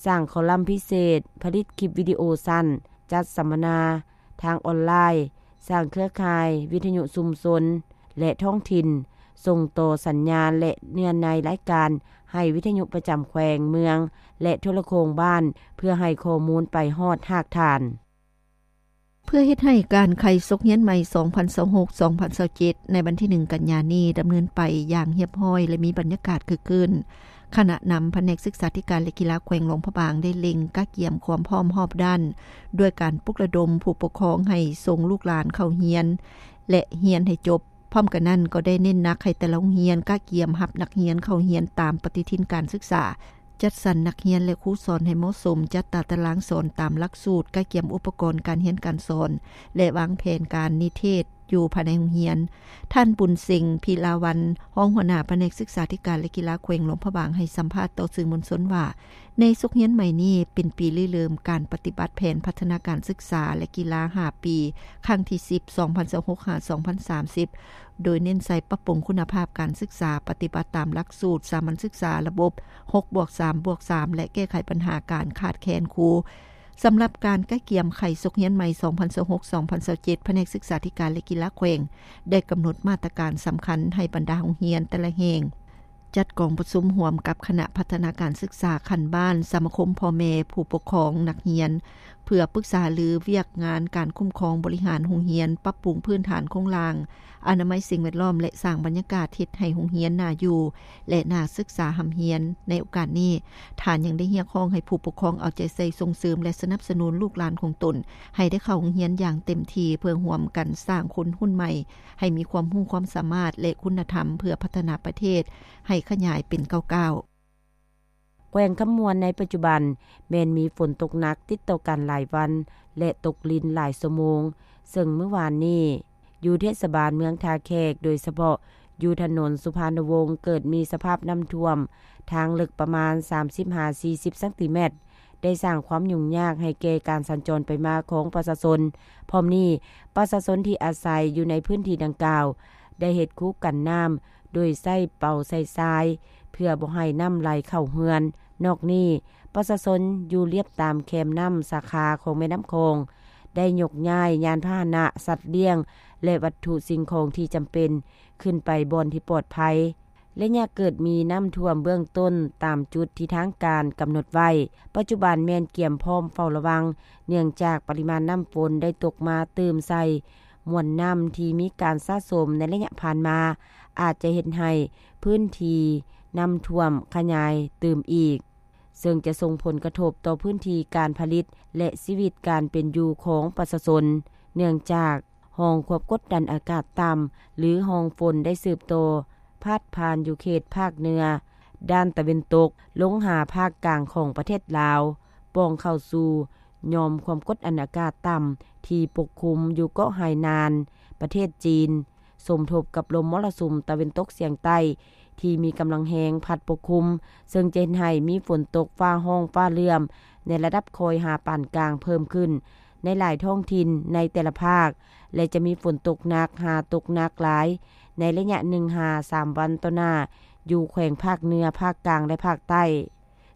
ສ້າງຄໍລັມພິເສດ, ຜະລິດຄລິບວິດີໂອສັ້ນ, ຈັດສຳມະນາທາງອອນລາຍ, ສ້າງເຄືອຂ່າຍວິທະຍຸຊຸມຊົນ ແລະ ທ້ອງຖິ່ນ, ສົ່ງຕໍ່ສັນຍານ ແລະ ເນື້ອໃນລາຍການໃຫ້ວິທະຍຸປະຈຳແຂວງ, ເມືອງ ແລະ ໂທລະໂຄ່ງບ້ານ ເພື່ອໃຫ້ຂໍ້ມູນໄປຮອດຮາກຖານ. ເພື່ອເຮັດໃຫ້ການໄຂສົກຮຽນໃໝ່ ສອງພັນຊາວຫົກ ສອງພັນຊາວເຈັດ ໃນວັນທີ ໜຶ່ງ ກັນຍານີ້ ດຳເນີນໄປຢ່າງຮຽບຮ້ອຍ ແລະ ມີບັນຍາກາດຄຶກຄື້ນ, ຄະນະນຳພະແນກສຶກສາທິການ ແລະ ກິລາແຂວງຫຼວງພະບາງ ໄດ້ເລັ່ງກະກຽມຄວາມພ້ອມຮອບດ້ານ ດ້ວຍການປຸກລະດົມຜູ້ປົກຄອງໃຫ້ສົ່ງລູກຫຼານເຂົ້າຮຽນ ແລະ ຮຽນໃຫ້ຈົບ. ພ້ອມກັນນັ້ນ ກໍໄດ້ເນັ້ນໜັກໃຫ້ແຕ່ລະໂຮງຮຽນກະກຽມຮັບນັກຮຽນເຂົ້າຮຽນຕາມປະຕິທິນການສຶກສາ, ຈັດສັນນັກຮຽນ ແລະ ຄູສອນໃຫ້ເໝາະສົມ, ຈັດຕາຕະລາງສອນຕາມຫຼັກສູດ, ກະກຽມອຸປະກອນການຮຽນການສອນ ແລະ ວາງແຜນການນິເທດຢູ່ພາຍໃນໂຮງຮຽນ. ທ່ານ ບຸນເສັງ ພິລາວັນ ຮອງຫົວໜ້າພະແນກສຶກສາທິການ ແລະ ກິລາແຂວງຫຼວງພະບາງ ໃຫ້ສຳພາດຕໍ່ສື່ມວນຊົນວ່າ ໃນສົກຮຽນໃໝ່ນີ້ ເປັນປີລິເລີ່ມການປະຕິບັດແຜນພັດທະນາການສຶກສາ ແລະ ກິລາ ຫ້າ ປີ ຄັ້ງທີ ສິບ ສອງພັນຊາວຫົກ ຫາ ສອງພັນສາມສິບ ໂດຍເນັ້ນໃສ່ປັບປຸງຄຸນນະພາບການສຶກສາ, ປະຕິບັດຕາມຫຼັກສູດສາມັນສຶກສາລະບົບ ຫົກບວກສາມບວກສາມ ແລະ ແກ້ໄຂບັນຫາການຂາດແຄນຄູ. ສຳລັບການກະກຽມໄຂສົກຮຽນໃໝ່ ສອງພັນຊາວຫົກ ສອງພັນຊາວເຈັດ ພະແນກສຶກສາທິການ ແລະ ກິລາແຂວງ ໄດ້ກຳນົດມາດຕະການສຳຄັນໃຫ້ບັນດາໂຮງຮຽນແຕ່ລະແຫ່ງ ຈັດກອງປະຊຸມຮ່ວມກັບຄະນະພັດທະນາການສຶກສາຂັ້ນບ້ານ, ສະມາຄົມພໍ່ແມ່ຜູ້ປົກຄອງນັກຮຽນ ເພື່ອປຶກສາຫາລືວຽກງານການຄຸ້ມຄອງບໍລິຫານໂຮງຮຽນ, ປັບປຸງພື້ນຖານໂຄງລ່າງ, ອະນາໄມສິ່ງແວດລ້ອມ ແລະ ສ້າງບັນຍາກາດເຮັດໃຫ້ໂຮງຮຽນໜ້າຢູ່ ແລະ ໜ້າສຶກສາຮ່ຳຮຽນ. ໃນໂອກາດນີ້, ທ່ານຍັງໄດ້ຮຽກຮ້ອງໃຫ້ຜູ້ປົກຄອງເອົາໃຈໃສ່ສົ່ງເສີມ ແລະ ສະໜັບສະໜູນລູກຫຼານຂອງຕົນ ໃຫ້ໄດ້ເຂົ້າໂຮງຮຽນຢ່າງເຕັມທີ່ ເພື່ອຮ່ວມກັນສ້າງຄົນຮຸ່ນໃໝ່ ໃຫ້ມີຄວາມຮູ້ຄວາມສາມາດ ແລະ ຄຸນນະທຳ ເພື່ອພັດທະນາປະເທດໃຫ້ຂະຫຍາຍເປັນກ້າວໆ. ແຂວງຄຳມ່ວນໃນປັດຈຸບັນແມ່ນມີຝົນຕົກໜັກຕິດຕໍ່ກັນຫຼາຍວັນ ແລະ ຕົກລິນຫຼາຍຊົ່ວໂມງ, ເຊິ່ງມື້ວານນີ້ຢູ່ເທດສະບານເມືອງທ່າແຂກ, ໂດຍສະເພາະຢູ່ຖະໜົນສຸພານຸວົງ ເກີດມີສະພາບນ້ຳຖ້ວມທາງເລິກປະມານ ສາມສິບ ຫາ ສີ່ສິບ ຊັງຕີແມັດ ໄດ້ສ້າງຄວາມຫຍຸ້ງຍາກໃຫ້ແກ່ການສັນຈອນໄປມາຂອງປະຊາຊົນ. ພ້ອມນີ້, ປະຊາຊົນທີ່ອາໄສຢູ່ໃນພື້ນທີ່ດັ່ງກ່າວ ໄດ້ເຮັດຄູກັນນ້ຳໂດຍໃຊ້ເປົາໃສ່ຊາຍ ເພື່ອບໍ່ໃຫ້ນ້ຳໄຫຼເຂົ້າເຮືອນ. ນອກນີ້, ປະຊາຊົນຢູ່ລຽບຕາມແຄມນ້ຳສາຂາຂອງແມ່ນ້ຳຂອງ ໄດ້ຍົກຍ້າຍຍານພາຫະນະ, ສັດລ້ຽງ ແລະ ວັດຖຸສິ່ງຂອງທີ່ຈຳເປັນ ຂຶ້ນໄປບ່ອນທີ່ປອດໄພ. ໄລຍະເກີດມີນ້ຳຖ້ວມເບື້ອງຕົ້ນຕາມຈຸດທີ່ທາງການກຳນົດໄວ້ ປັດຈຸບັນແມ່ນກຽມພ້ອມເຝົ້າລະວັງ ເນື່ອງຈາກປະລິມານນ້ຳຝົນໄດ້ຕົກມາຕື່ມໃສ່ມວນນ້ຳທີ່ມີການສະສົມໃນໄລຍະຜ່ານມາ ອາດຈະເຮັດໃຫ້ພື້ນທີ່ນ້ຳຖ້ວມຂະຫຍາຍຕື່ມອີກ, ເຊິ່ງຈະສົ່ງຜົນກະທົບຕໍ່ພື້ນທີ່ການຜະລິດ ແລະ ຊີວິດການເປັນຢູ່ຂອງປະຊາຊົນ, ເນື່ອງຈາກ ຮ່ອງຄວາມກົດດັນອາກາດຕ່ຳ ຫຼື ຮ່ອງຝົນໄດ້ສືບຕໍ່ພາດຜ່ານຢູ່ເຂດພາກເໜືອດ້ານຕາເວັນຕົກ ລົງຫາພາກກາງຂອງປະເທດລາວ, ປ່ອງເຂົ້າສູ່ຫຍ່ອມຄວາມກົດດັນອາກາດຕ່ຳທີ່ປົກຄຸມຢູ່ເກາະໄຮນານ ປະເທດຈີນ, ສົມທົບກັບລົມມໍລະສຸມຕາເວັນຕົກສຽງໃຕ້ ທີ່ມີກຳລັງແຮງພັດປົກຄຸມ, ເຊິ່ງຈະເຮັດໃຫ້ມີຝົນຕົກຟ້າຮ້ອງຟ້າເຫຼື້ອມໃນລະດັບຄ່ອຍຫາປານກາງເພີ່ມຂຶ້ນໃນຫຼາຍທ້ອງຖິ່ນໃນແຕ່ລະພາກ ແລະ ຈະມີຝົນຕົກໜັກຫາຕົກໜັກຫຼາຍໃນໄລຍະໜຶ່ງຫາສາມວັນຕໍ່ໜ້າ ຢູ່ແຂວງພາກເໜືອ, ພາກກາງ ແລະ ພາກໃຕ້.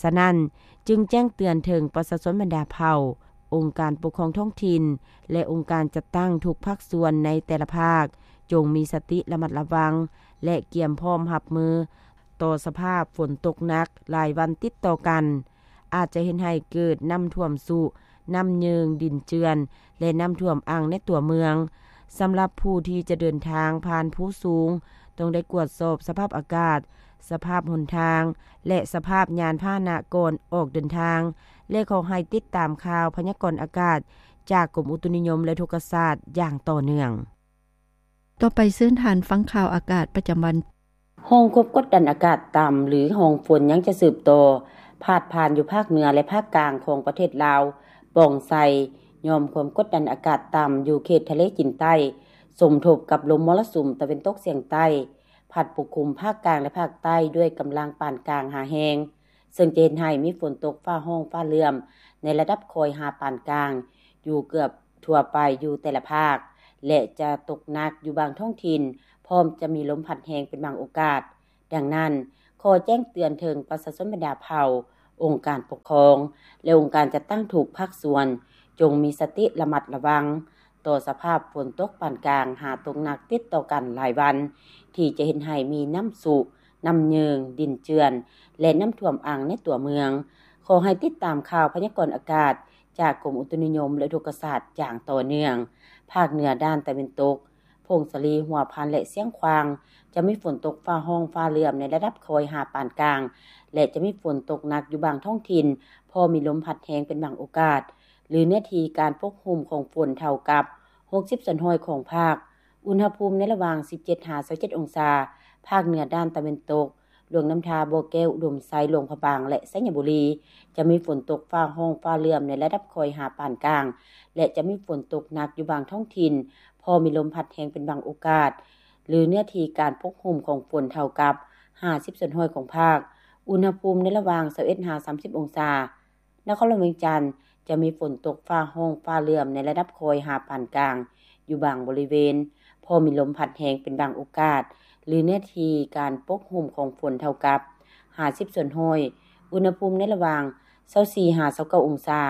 ສະນັ້ນ, ຈຶ່ງແຈ້ງເຕືອນເຖິງປະຊາຊົນບັນດາເຜົ່າ, ອົງການປົກຄອງທ້ອງຖິ່ນ ແລະ ອົງການຈັດຕັ້ງທຸກພາກສ່ວນໃນແຕ່ລະພາກ ຈົ່ງມີສະຕິລະມັດລະວັງ ແລະ ກຽມພ້ອມຮັບມືຕໍ່ສະພາບຝົນຕົກໜັກຫຼາຍວັນຕິດຕໍ່ກັນ, ອາດຈະເຮັດໃຫ້ເກີດນ້ຳຖ້ວມຊຸ, ນ້ຳເຍິງດິນເຈື່ອນ ແລະ ນ້ຳຖ້ວມອັ່ງໃນຕົວເມືອງ. ສຳລັບຜູ້ທີ່ຈະເດີນທາງຜ່ານພູສູງ, ຕ້ອງໄດ້ກວດສອບສະພາບອາກາດ, ສະພາບຫົນທາງ ແລະ ສະພາບຍານພາຫະນະກ່ອນອອກເດີນທາງ ແລະ ຂໍໃຫ້ຕິດຕາມຂ່າວພະຍາກອນອາກາດຈາກກົມອຸຕຸນິຍົມ ແລະ ອຸທົກກະສາດຢ່າງຕໍ່ເນື່ອງ. ຕໍ່ໄປເຊີນທ່ານຟັງຂ່າວອາກາດປະຈຳວັນ. ຮ່ອງຄວາມກົດດັນອາກາດຕ່ຳ ຫຼື ຮ່ອງຝົນຍັງຈະສືບຕໍ່ພາດຜ່ານຢູ່ພາກເໜືອ ແລະ ພາກກາງຂອງປະເທດລາວ, ປ່ອງໃສ່ຫຍ່ອມຄວາມກົດດັນອາກາດຕ່ຳຢູ່ເຂດທະເລຈີນໃຕ້, ສົມທົບກັບລົມມໍລະສຸມຕາເວັນຕົກສຽງໃຕ້ ພັດປົກຄຸມພາກກາງ ແລະ ພາກໃຕ້ດ້ວຍກຳລັງປານກາງຫາແຮງ, ເຊິ່ງຈະເຮັດໃຫ້ມີຝົນຕົກຟ້າຮ້ອງຟ້າເຫຼື້ອມໃນລະດັບຄ່ອຍຫາປານກາງຢູ່ເກືອບທົ່ວໄປຢູ່ແຕ່ລະພາກ ແລະ ຈະຕົກໜັກຢູ່ບາງທ້ອງຖິ່ນ, ພ້ອມຈະມີລົມພັດແຮງເປັນບາງໂອກາດ. ດັ່ງນັ້ນ, ຂໍແຈ້ງເຕືອນເຖິງປະຊາຊົນບັນດາເຜົ່າ, ອົງການປົກຄອງ ແລະ ອົງການຈັດຕັ້ງທຸກພາກສ່ວນ ຈົ່ງມີສະຕິລະມັດລະວັງຕໍ່ສະພາບຝົນຕົກປານກາງ ຫາຕົກໜັກຕິດຕໍ່ກັນຫຼາຍວັນ ທີ່ຈະເຮັດໃຫ້ມີນ້ຳຊຸ, ນ້ຳເຍິງ, ດິນເຈື່ອນ ແລະ ນ້ຳຖ້ວມອັ່ງໃນຕົວເມືອງ. ຂໍໃຫ້ຕິດຕາມຂ່າວພະຍາກອນອາກາດຈາກກົມອຸຕຸນິຍົມ ແລະ ອຸທົກກະສາດຢ່າງຕໍ່ເນື່ອງ. ພາກເໜືອດ້ານຕາເວັນຕົກ, ຜົ້ງສາລີ, ຫົວພັນ ແລະ ຊຽງຂວາງ ຈະມີຝົນຕົກຟ້າຮ້ອງຟ້າເຫຼື້ອມໃນລະດັບຄ່ອຍຫາປານກາງ ແລະ ຈະມີຝົນຕົກໜັກຢູ່ບາງທ້ອງຖິ່ນ, ພໍມີລົມພັດແຮງເປັນບາງໂອກາດ ຫຼື ເນື້ອທີ່ການປົກຫຸ້ມຂອງຝົນເທົ່າກັບຫົກສິບສ່ວນຮ້ອຍຂອງພາກ. ອຸນຫະພູມໃນລະຫວ່າງສິບເຈັດຫາຊາວເຈັດອົງສາ. ພາກເໜືອດ້ານຕາເວັນຕົກ, ຫຼວງນ້ຳທາ, ບໍ່ແກ້ວ, ອຸດົມໄຊ, ຫຼວງພະບາງ ແລະ ໄຊຍະບູລີ ຈະມີຝົນຕົກຟ້າຮ້ອງຟ້າເຫຼື້ອມໃນລະດັບຄ່ອຍຫາປານກາງ ແລະ ຈະມີຝົນຕົກໜັກຢູ່ບາງທ້ອງຖິ່ນ, ພໍມີລົມພັດແຮງເປັນບາງໂອກາດ ຫຼື ເນື້ອທີ່ການປົກຫຸ້ມຂອງຝົນເທົ່າກັບຫ້າສິບສ່ວນຮ້ອຍຂອງພາກ. ອຸນຫະພູມໃນລະຫວ່າງຊາວເອັດຫາສາມສິບອົງສາ. ນະຄອນຫຼວງວຽງຈັນ ຈະມີຝົນຕົກຟ້າຮ້ອງຟ້າເຫຼື້ອມໃນລະດັບຄ່ອຍຫາປານກາງ ຢູ່ບາງບໍລິເວນ, ພໍມີລົມພັດແຮງເປັນບາງໂອກາດ ຫຼື ເນື້ອທີ່ການປົກຫຸ້ມຂອງຝົນເທົ່າກັບຫ້າສິບສ່ວນຮ້ອຍ. ອຸນຫະພູມໃນລະຫວ່າງຊາວສີ່ຫາຊາວເກົ້າອົງສາ.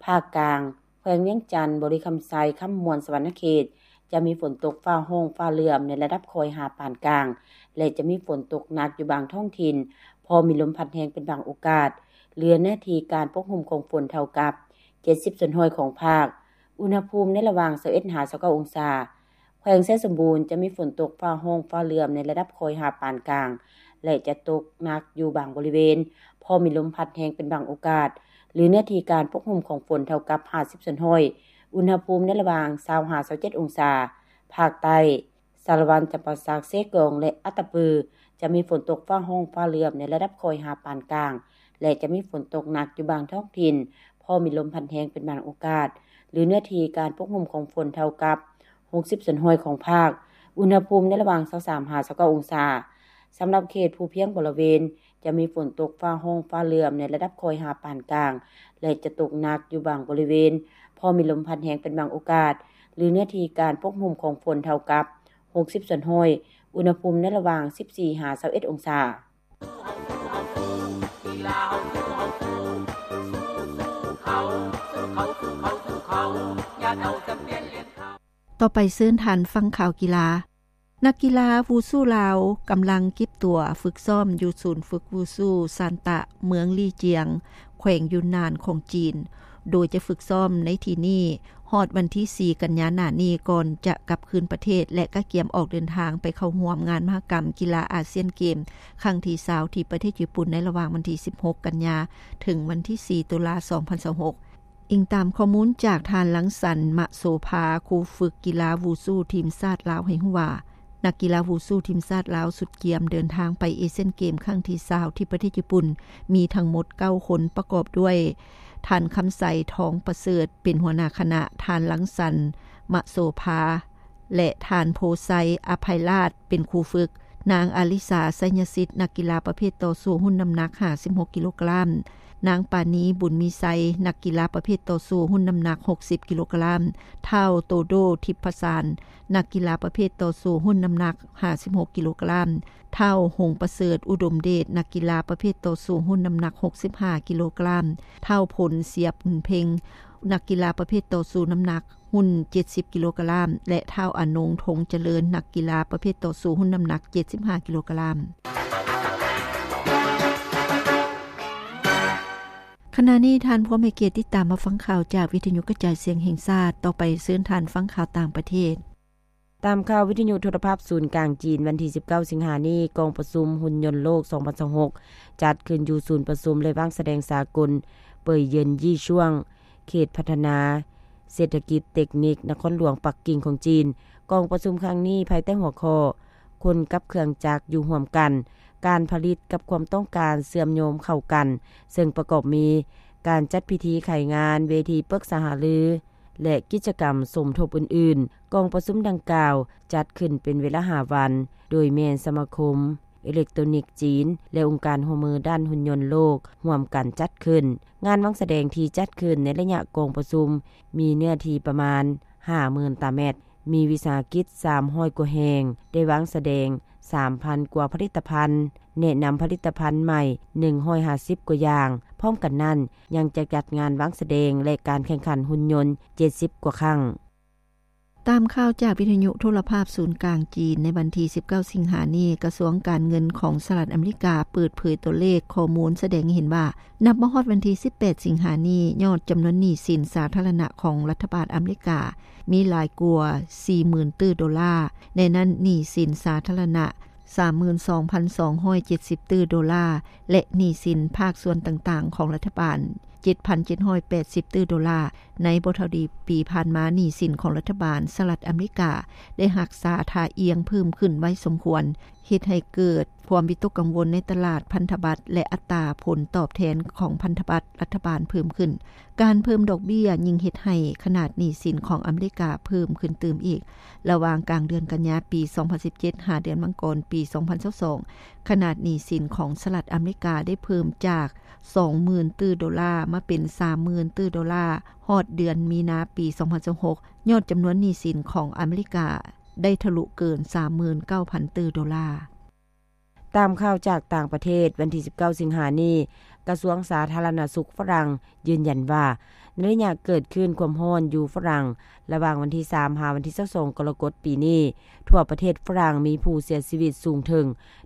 ພາກກາງ, ແຂວງວຽງຈັນ, ບໍລິຄຳໄຊ, ຄຳມ່ວນ, ສະຫວັນນະເຂດ ຈະມີຝົນຕົກຟ້າຮ້ອງຟ້າເຫຼື້ອມໃນລະດັບຄ່ອຍຫາປານກາງ ແລະ ຈະມີຝົນຕົກໜັກຢູ່ບາງທ້ອງຖິ່ນ, ພໍມີລົມພັດແຮງເປັນບາງໂອກາດ, ເຫຼືອເນື້ອທີ່ການປົກຫຸ້ມຂອງຝົນເທົ່າກັບເຈັດສິບສ່ວນຮ້ອຍຂອງພາກ. ອຸນຫະພູມໃນລະຫວ່າງຊາວເອັດຫາຊາວເກົ້າອົງສາ. ແຂວງໄຊສົມບູນ ຈະມີຝົນຕົກຟ້າຮ້ອງຟ້າເຫຼື້ອມໃນລະດັບຄ່ອຍຫາປານກາງ ແລະ ຈະຕົກໜັກຢູ່ບາງບໍລິເວນ, ພໍມີລົມພັດແຮງເປັນບາງໂອກາດ ຫຼື ເນື້ອທີ່ການປົກຫຸ້ມຂອງຝົນເທົ່າກັບຫ້າສິບສ່ວນຮ້ອຍ. ອຸນຫະພູມໃນລະຫວ່າງຊາວຫາຊາວເຈັດອົງສາ. ພາກໃຕ້, ສາລະວັນ, ຈຳປາສັກ, ເຊກອງ ແລະ ອັດຕະປື ຈະມີຝົນຕົກຟ້າຮ້ອງຟ້າເຫຼື້ອມໃນລະດັບຄ່ອຍຫາປານກາງ ແລະ ຈະມີຝົນຕົກໜັກຢູ່ບາງທ້ອງຖິ່ນ, ພໍມີລົມພັດແຮງເປັນບາງໂອກາດ ຫຼື ເນື້ອທີ່ການປົກຫຸ້ມຂອງຝົນເທົ່າກັບຫົກສິບສ່ວນຮ້ອຍຂອງພາກ. ອຸນຫະພູມໃນລະຫວ່າງຊາວສາມຫາຊາວເກົ້າອົງສາ. ສຳລັບເຂດພູພຽງບໍລະເວນ ຈະມີຝົນຕົກຟ້າຮ້ອງຟ້າເຫຼື້ອມໃນລະດັບຄ່ອຍຫາປານກາງ ແລະ ຈະຕົກໜັກຢູ່ບາງບໍລິເວນ, ພໍມີລົມພັດແຮງເປັນບາງໂອກາດ ຫຼື ເນື້ອທີ່ການປົກຫຸ້ມຂອງຝົນເທົ່າກັບຫົກສິບສ່ວນຮ້ອຍ. ອຸນຫະພູມໃນລະຫວ່າງສິບສີ່ຫາຊາວເອັດອົງສາ. ຕໍ່ໄປເຊີນທ່ານຟັງຂ່າວກິລາ. ນັກກິລາວູຊູລາວກຳລັງເກັບຕົວຝຶກຊ້ອມຢູ່ສູນຝຶກວູຊູຊານຕະ ເມືອງລີຈຽງ ແຂວງຢຸນນານຂອງຈີນ, ໂດຍຈະຝຶກຊ້ອມໃນທີ່ນີ້ ຮອດວັນທີສີ່ກັນຍາໜ້ານີ້ ກ່ອນຈະກັບຄືນປະເທດ ແລະ ກະກຽມອອກເດີນທາງໄປເຂົ້າຮ່ວມງານມະຫະກຳກິລາອາຊຽນເກມຄັ້ງທີຊາວ ທີ່ປະເທດຍີ່ປຸ່ນ ໃນລະຫວ່າງວັນທີສິບຫົກກັນຍາ ເຖິງວັນທີສີ່ຕຸລາ ສອງພັນຊາວຫົກ. ອີງຕາມຂໍ້ມູນຈາກທ່ານ ລັງສັນ ມະໂສພາ, ຄູຝຶກກິລາວູຊູທີມຊາດລາວ ໃຫ້ຮູ້ວ່າ ນັກກິລາວູຊູທີມຊາດລາວຊຸດກຽມເດີນທາງໄປເອຊຽນເກມຄັ້ງທີຊາວ ທີ່ປະເທດຍີ່ປຸ່ນ ມີທັງໝົດເກົ້າຄົນ ປະກອບດ້ວຍ ທ່ານ ຄຳໄຊ ທອງປະເສີດ ເປັນຫົວໜ້າຄະນະ, ທ່ານ ລັງສັນ ມະໂສພາ ແລະ ທ່ານ ໂພໄຊ ອະໄພລາດ ເປັນຄູຝຶກ, ນາງ ອາລິສາ ໄຊຍະສິດ ນັກກິລາປະເພດຕໍ່ສູ້ຮຸ່ນນ້ຳໜັກຫ້າສິບຫົກກິໂລກຣາມ, ນາງ ປານີ ບຸນມີໄຊ ນັກກິລາປະເພດຕໍ່ສູ້ຮຸ່ນນ້ຳໜັກຫົກສິບກິໂລກຣາມ, ທ້າວ ໂຕໂດ ທິບພະສານ ນັກກິລາປະເພດຕໍ່ສູ້ຮຸ່ນນ້ຳໜັກຫ້າສິບຫົກກິໂລກຣາມ, ທ້າວ ຫົງປະເສີດ ອຸດົມເດດ ນັກກິລາປະເພດຕໍ່ສູ້ຮຸ່ນນ້ຳໜັກຫົກສິບຫ້າກິໂລກຣາມ, ທ້າວ ພົນ ເສຍບຸນເພັງ ນັກກິລາປະເພດຕໍ່ສູ້ນ້ຳໜັກຮຸ່ນເຈັດສິບກິໂລກຣາມ ແລະ ທ້າວ ອານົງ ທົງຈະເລີນ ນັກກິລາປະເພດຕໍ່ສູ້ຮຸ່ນນ້ຳໜັກເຈັດສິບຫ້າກິໂລກຣາມ. ຂະນະນີ້ທ່ານພວມໃຫ້ກຽດຕິດຕາມມາຟັງຂ່າວຈາກວິທະຍຸກະຈາຍສຽງແຫ່ງຊາດ. ຕໍ່ໄປເຊີນທ່ານຟັງຂ່າວຕ່າງປະເທດ. ຕາມຂ່າວວິທະຍຸໂທລະພາບສູນກາງຈີນ ວັນທີສິບເກົ້າສິງຫານີ້, ກອງປະຊຸມຮຸ່ນຍົນໂລກສອງພັນຊາວຫົກ ຈັດຂຶ້ນຢູ່ສູນປະຊຸມ ແລະ ວາງສະແດງສາກົນ ເປີຍເຢິນ ຢີຊ່ວງ ເຂດພັດທະນາເສດຖະກິດເຕັກນິກ ນະຄອນຫຼວງປັກກິ່ງຂອງຈີນ. ກອງປະຊຸມຄັ້ງນີ້ ພາຍໃຕ້ຫົວຂໍ້ ຄົນກັບເຄື່ອງຈັກຢູ່ຮ່ວມກັນ, ການຜະລິດກັບຄວາມຕ້ອງການເຊື່ອມໂຍງເຂົ້າກັນ, ເຊິ່ງປະກອບມີການຈັດພິທີໄຂງານ, ເວທີປຶກສາຫາລື ແລະ ກິດຈະກຳສົມທົບອື່ນໆ. ກອງປະຊຸມດັ່ງກ່າວຈັດຂຶ້ນເປັນເວລາຫ້າວັນ, ໂດຍແມ່ນສະມາຄົມ ເອເລັກໂຕຣນິກຈີນ ແລະ ອົງການຮ່ວມມືດ້ານຮຸ່ນຍົນໂລກຮ່ວມກັນຈັດຂຶ້ນ. ງານວາງສະແດງທີ່ຈັດຂຶ້ນໃນໄລຍະກອງປະຊຸມມີເນື້ອທີ່ປະມານຫ້າໝື່ນຕາແມັດ, ມີວິສາຫະກິດສາມຮ້ອຍກວ່າແຫ່ງ, ໄດ້ວາງສະແດງສາມພັນກວ່າຜະລິດຕະພັນ, ແນະນຳຜະລິດຕະພັນໃໝ່ໜຶ່ງຮ້ອຍຫ້າສິບກວ່າຢ່າງ, ພ້ອມກັນນັ້ນ ຍັງຈະຈັດງານວາງສະແດງ ແລະ ການແຂ່ງຂັນຫຸ່ນຍົນ ເຈັດສິບກວ່າຄັ້ງ. ຕາມຂ່າວຈາກວິທະຍຸໂທລະພາບສູນກາງຈີນ ໃນວັນທີສິບເກົ້າສິງຫານີ້, ກະຊວງການເງິນຂອງສະຫະລັດອາເມລິກາເປີດເຜີຍຕົວເລກຂໍ້ມູນສະແດງໃຫ້ເຫັນວ່າ ນັບມາຮອດວັນທີສິບແປດສິງຫານີ້, ຍອດຈຳນວນໜີ້ສິນສາທາລະນະຂອງລັດຖະບານອາເມລິກາ ມີຫຼາຍກວ່າສີ່ໝື່ນຕື້ໂດລາ, ໃນນັ້ນໜີ້ສິນສາທາລະນະ ສາມໝື່ນສອງພັນສອງຮ້ອຍເຈັດສິບຕື້ໂດລາ ແລະ ໜີ້ສິນພາກສ່ວນຕ່າງໆຂອງລັດຖະບານ ເຈັດພັນເຈັດຮ້ອຍແປດສິບຕື້ໂດລາ. ໃນບໍ່ເທົ່າໃດປີຜ່ານມາ, ໜີ້ສິນຂອງລັດຖະບານສະຫະລັດອາເມລິກາໄດ້ຮັກສາທ່າອ່ຽງເພີ່ມຂຶ້ນໄວສົມຄວນ, ເຮັດໃຫ້ເກີດຄວາມວິຕົກກັງວົນໃນຕະຫຼາດພັນທະບັດ ແລະ ອັດຕາຜົນຕອບແທນຂອງພັນທະບັດລັດຖະບານເພີ່ມຂຶ້ນ. ການເພີ່ມດອກເບ້ຍຍິ່ງເຮັດໃຫ້ຂະໜາດໜີ້ສິນຂອງອາເມລິກາເພີ່ມຂຶ້ນຕື່ມອີກ. ລະຫວ່າງກາງເດືອນກັນຍາປີສອງພັນສິບເຈັດ ຫາເດືອນມັງກອນປີສອງພັນຊາວສອງ, ຂະໜາດໜີ້ສິນຂອງສະຫະລັດອາເມລິກາໄດ້ເພີ່ມຈາກສອງໝື່ນຕື້ໂດລາ ມາເປັນສາມໝື່ນຕື້ໂດລາ, ຮອດເດືອນມີນາປີສອງພັນຊາວຫົກ, ຍອດຈຳນວນໜີ້ສິນຂອງອາເມລິກາໄດ້ທະລຸເກີນສາມໝື່ນເກົ້າພັນຕື້ໂດລາ. ຕາມຂ່າວຈາກຕ່າງປະເທດ, ວັນທີສິບເກົ້າສິງຫານີ້, ກະຊວງສາທາລະນະສຸກຝຣັ່ງຢືນຢັນວ່າ ໃນໄລຍະເກີດຄື້ນຄວາມຮ້ອນຢູ່ຝຣັ່ງ ລະຫວ່າງວັນທີສາມ ຫາວັນທີຊາວສອງ ກໍລະກົດປີນີ້, ທົ່ວປະເທດຝຣັ່ງມີຜູ້ເສຍຊີວິດສູງເຖິງ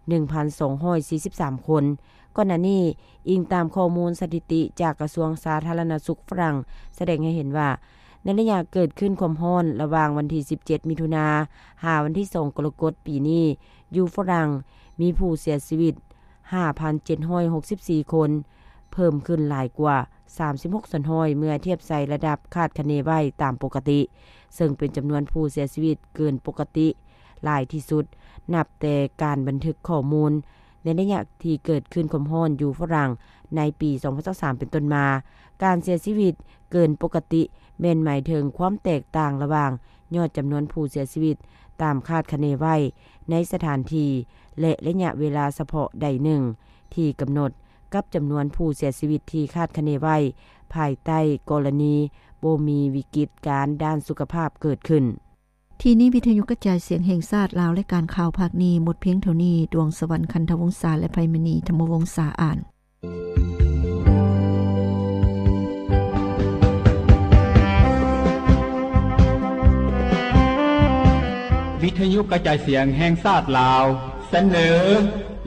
ໜຶ່ງພັນສອງຮ້ອຍສີ່ສິບສາມຄົນ. ກ່ອນໜ້ານີ້, ອີງຕາມຂໍ້ມູນສະຖິຕິຈາກກະຊວງສາທາລະນະສຸກຝຣັ່ງ ສະແດງໃຫ້ເຫັນວ່າ ໃນໄລຍະເກີດຄື້ນຄວາມຮ້ອນລະຫວ່າງວັນທີສິບເຈັດມິຖຸນາ ຫາວັນທີສອງກໍລະກົດປີນີ້, ຢູ່ຝຣັ່ງມີຜູ້ເສຍຊີວິດຫ້າພັນເຈັດຮ້ອຍຫົກສິບສີ່ຄົນ, ເພີ່ມຂຶ້ນຫຼາຍກວ່າສາມສິບຫົກສ່ວນຮ້ອຍ ເມື່ອທຽບໃສ່ລະດັບຄາດຄະເນໄວ້ຕາມປົກກະຕິ, ເຊິ່ງເປັນຈຳນວນຜູ້ເສຍຊີວິດເກີນປົກກະຕິຫຼາຍທີ່ສຸດ ນັບແຕ່ການບັນທຶກຂໍ້ມູນ ໃນໄລຍະທີ່ເກີດຄື້ນຄວາມຮ້ອນຢູ່ຝຣັ່ງໃນປີສອງພັນຊາວສາມເປັນຕົ້ນມາ. ການເສຍຊີວິດເກີນປົກກະຕິແມ່ນໝາຍເຖິງຄວາມແຕກຕ່າງລະຫວ່າງຍອດຈຳນວນຜູ້ເສຍຊີວິດຕາມຄາດຄະເນໄວ້ໃນສະຖານທີ່ ແລະ ໄລຍະເວລາສະເພາະໃດໜຶ່ງທີ່ກຳນົດ ກັບຈຳນວນຜູ້ເສຍຊີວິດທີ່ຄາດຄະເນໄວ້ ພາຍໃຕ້ກໍລະນີບໍ່ມີວິກິດການດ້ານສຸຂະພາບເກີດຂຶ້ນ. ທີ່ນີ້ວິທະຍຸກະຈາຍສຽງແຫ່ງຊາດລາວ ລາຍການຂ່າວພາກນີ້ໝົດພຽງເທົ່ານີ້. ດວງສະຫວັນ ຄັນທະວົງສາ ແລະ ໄພມະນີ ທຳມະວົງສາ ອ່ານ. ວິທະຍຸກະຈາຍສຽງແຫ່ງຊາດລາວ ສະເໜີ.